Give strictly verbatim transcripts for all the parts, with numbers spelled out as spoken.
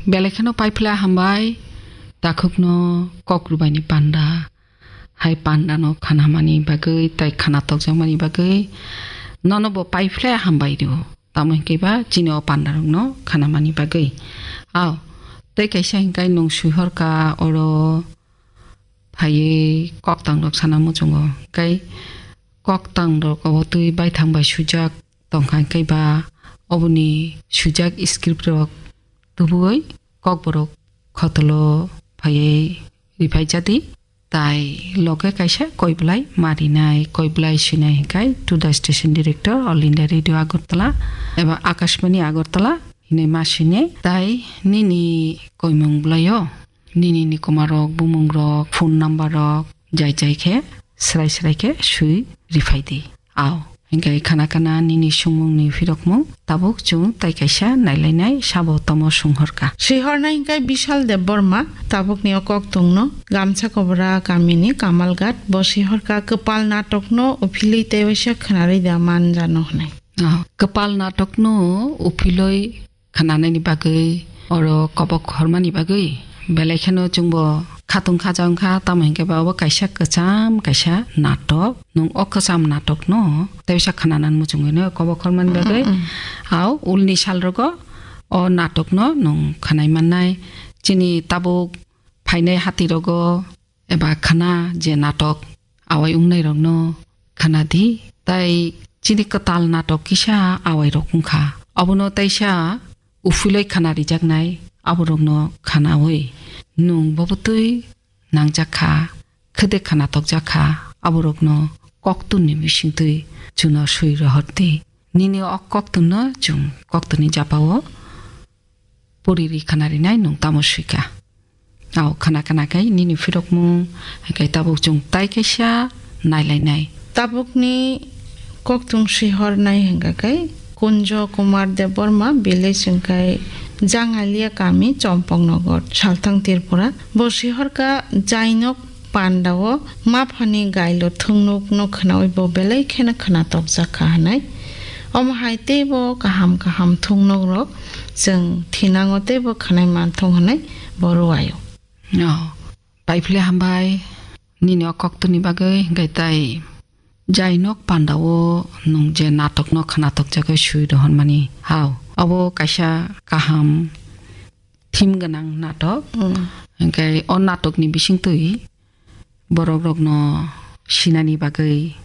Belai kheno paiphle hambai, takhukno kok rwbaini panda. Hai pandano khanamani bagwi, tai khana tokjakmani bagwi, nono bo paiphle hambai rw. Tamo hinkhe ba chini o pandarokno khanamani bagwi. Ao, tei kaisa hinkhe nwng swihorkha oro phaiwi koktangrok sana muchungo. Hinkhe koktangrok obo twi baithang bai swijak tongkha, hinkhe ba oboni swijak scriptrok tubuwi kokborok khotolo phaiwi riphaijadi. Tai loge kaisa koi belai ma rinai, koi belai swinai hinkhe to the station director, All India Radio Agartala eba Akashbani Agartala hinwi ma swinai. Tai nini koimung belaio, nini nikomarok, bumungrok, phone numberrok jai jai khe, srai srai khe swi riphaidi. Ao, hinkhe khana khana nini sungmungni phirokmung tabuk chwng tai kaisa nailainai sabo tomo sunghorkha. Sihornai hinkhe Bishal Debbarma, tabukni o koktungno Gamsa Kobra kamini Kamalghat, bo sihorkha kwpal natokno uphilwi tei waisa khwnarwi da manjano hwnwi. Ao, kwpal natokno uphilwi khananani bagwi, oro kobok hormani bagwi belai kheno chwngbo khatung khaja wngkha, tamo hinkhe ba obo kaisa kwcham kaisa natok. Nwng o kwcham natokno teisa khananan muchungwino kobok hormani bagwi, mm, mm, ao ulni salrogo o natokno nwng khanai mannai. Chini tabuk phainai hatirogo eba khana je natok awai wngnairokno khana di. Tai chini kwtal natok kisa awairok wngkha. Abono taisa uphilwi khana rijaknai aborokno khanawi nwng bobo twi nangjak kha, khede khana tokjak kha, aborokno koktunni bisingtwi chwngno swi rohor di. Nini o koktunno chwng koktunni japao puriri khana rinai nwng tamo swikha. Ao khana khana khai nini phirokmung, hai khai tabuk chwng tai kaisa nailainai. Tabukni koktung sihornai hwnkha khai Kunjo Kumar Debbarma, village hwnkha khai Jangalia kami, Chompoknagar, Salthang Tripura. Bo sihorkha jainok pandao maphani gailo thungnukno khwnawi bo belai kheno khwna tokjak kha hwnwi. Omo hai teibo kaham kaham thungnokrok chwng thinango teibo khwnai manthung hwnwi bo rwio. Oh, paiphle hambai nini o koktwni bagwi, hwnkhe tai jainok pandao nwng je natokno khwna tokjagwi swi rohormani. Hao, obo kaisa kaham theme gwnang natok. Mm. Hwnkhe o natokni bisingtwi borokrokno sinani bagwi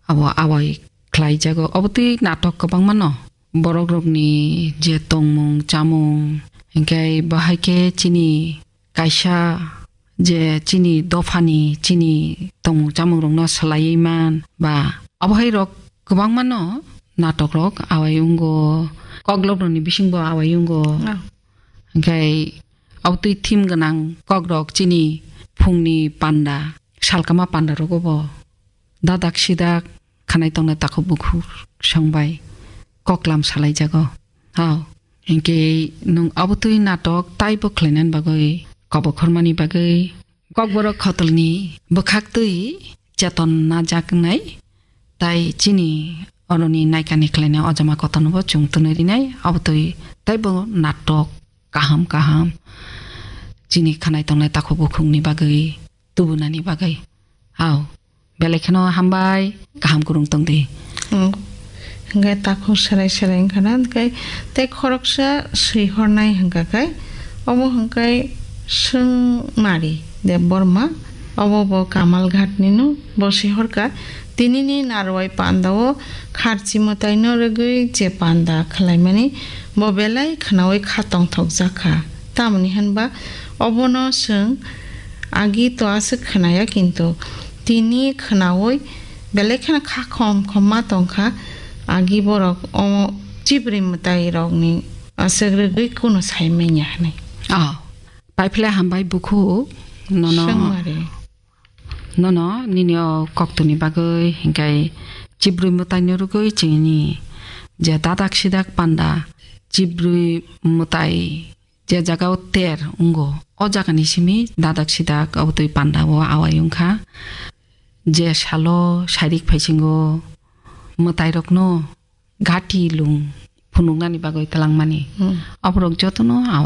abo awai khlaijago. Obo twi natok kwbangma no. Borokrokni je tongmung, chamung, hwnkhe bahai khe chini kaisa je chini dophani chini tongmung chamungrokno swlaiwi man ba abohairok kwbangma no natokrok awai wngo, koklokrokni bisingbo awai wngo. Ah. Hwnkhe abotwi theme gwnang kokrok chini phungni panda, salkama pandarogo bo dadak sidak khanai tongnai takhuk bukhuk songbai koklam salaijago. Hao, hinkhe nwng abotwi natok taibo khlainani bagwi, kobokhormani bagwi, kokborok khotolni bwkhaktwi cheton najaknai, tai chini oroni naikani khlainai ojama kotornobo chwng twnwi rinai, abotwi taibo natok kaham kaham chini khanai tongnai takhuk bukhukni bagwi, tubunani bagwi. Hao, belai kheno hambai, kaham kwrwng tongdi. Hmm. Hwnkhe takhuk serai serai wngkha na, hwnkhe tei khoroksa swihornai hwnkha khe, omo hwnkhe Swngmari Debbarma, obo bo Kamalghatni no, bo swihorkha, tinini narwai pandao kharchi mwtaino rwgwi je panda khlaimani bo belai khwnaui kha tongthokjak kha. Tamoni hwnba obono chwng agi to aswk khwnaya, kintu tini khwnaui belai kheno kha khom khom ma tongkha. Agi borok o chibrwi mwtai rokni aswk rwgwi kunu sai manya hwnwi. Oh, paiphle hambai bukhuk, nono. Swngmari. Nono nini o koktwni bagwi, hinkhe chibrwi mwtaino rwgwi chini je dadak sidak panda, chibrwi mwtai je jaga o ter wngo, o jaga ni simi dadak sidak abotwi panda o awai wngkha. Je salo sairik phaisingo mwtai rokno gati lung phunuknani bagwi twlangmani. Hmm. Aborok jotono